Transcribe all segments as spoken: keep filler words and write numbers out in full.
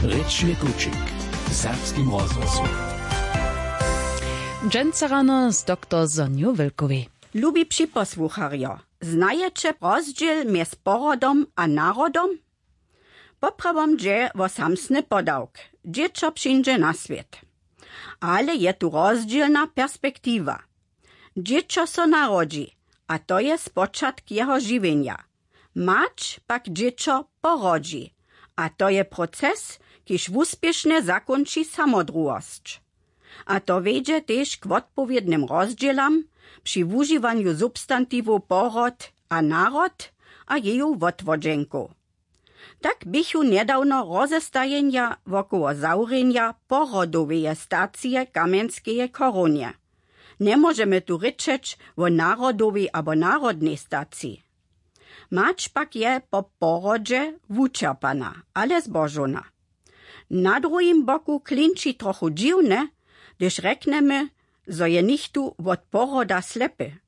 Rěčny kućik w serbskim rozhłosu. Dźensa rano z doktor Sonju Wylkowej. Lubi připosłucharjo, znajeće rozdźěl mjez porodom a narodom? Poprawom dźe wo samsny podawk, dźěćo přińdźe na swět. Ale je tu rozdźělna perspektiwa. Dźěćo so narodźi, a to je spočatk jeho žiwjenja. Mać pak dźěćo porodźi, a to je proces, kiž wuspěšnje zakónči samodruhosć. A to wjedźe tež k wotpowědnym rozdźělam při wužiwanju substantiwow porod a narod a jeju wotwodźenkow. Tak běchu njedawno rozestajenja wokoło zawrjenja porodoweje stacije w Kamjenskeje chorownje. Njemóžemy tu rěčeć wo narodowej abo narodnej staciji. Mać pak je po porodźe wućerpana, ale zbožowna. Na druhim boku klinči trochu dźiwne, hdyž rjeknemy, zo je nichtó wot poroda slepy.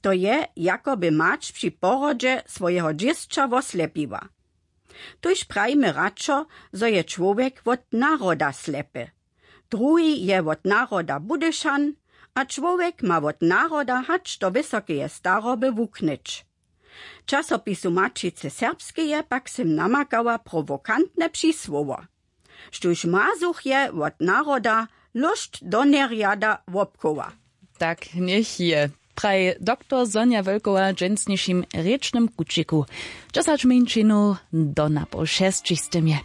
To je, jako by mać při porodźe swojeho dźěsća woslepiła. Tuž prajimy radšo, zo je čłowjek wot naroda slepy. Druhi je wot naroda budyšan, a čłowjek ma wot naroda hač do wysokeje staroby wuknyć. W časopisu Maćicy Serbskeje pak sym namakała prowokantne přisłowo, štóž mazuch je wot naroda lóšt do njerjada wobchowa. Tak njech je, praji doktor Sonja Wölkowa w dźensnišim rěčnym kućiku. Dźesać mjeńšinow do napoł šesćich z tym je.